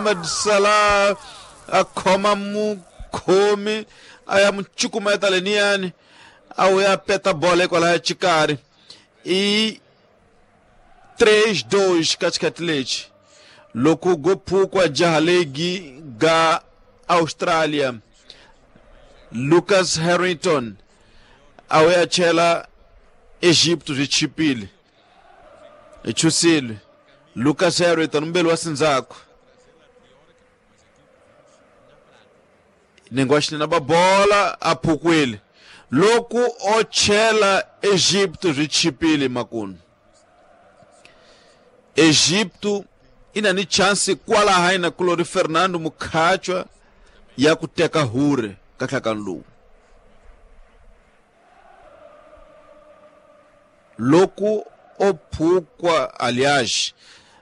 Mohamed Salah a khoma mukhomi a ya mu cukumeta leniyani a wuya peta bola hikwalaya xikarhi i 3-2 ka xikhathi lexi loko go phukwa jaha legi ga Australia Lucas Harrington a wuya chela Egipto byi chipile hi chusile Lucas Harrington mbeli wa sindzhaku nenge wa xinene ba bola a phukwile loko o chela Egipto byi chipile makunu Egipto ina ni chance kwalaha ina kulori Fernando Mukhachwa ya ku teka hure ka nhlakano lowu loko o phukwa aliás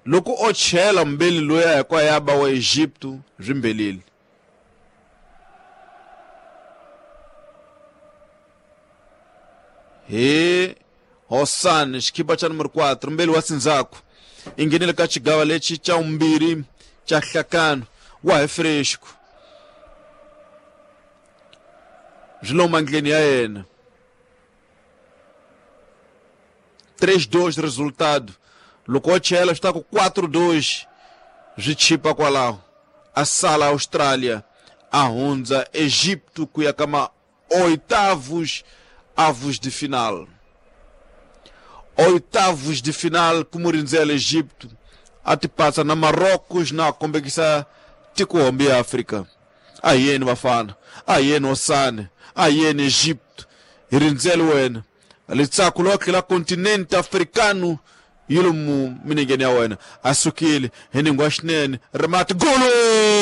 loko o chela mbeli loya hinkwayo ya ba wa Egipto byi mbelile hi Hosan xikhipa xa numero 4 mbeli wa sindzhaku i nghenile ka xigava lexi xa vumbirhi xa hlakano wa hi fresco byi lo mandleni ya yena 3-2 resultado loko o chela swi ta ku 4-2 swi chipa kwalaho a sala Australia a hundza Egipto ku ya ka ma oitavos avos de final oitavos de final ku mu rindzela Egipto a ti patsa na Marrocos na kombekisa tikohombe ya Afrika a hi yeni vafana a hi yeni Osane a hi yeni Egipto hi rindzele wena litsako lotlhe la kontinente africano yi lomu minengeni ya wena a sukile hi ningwa xinene rimati golo.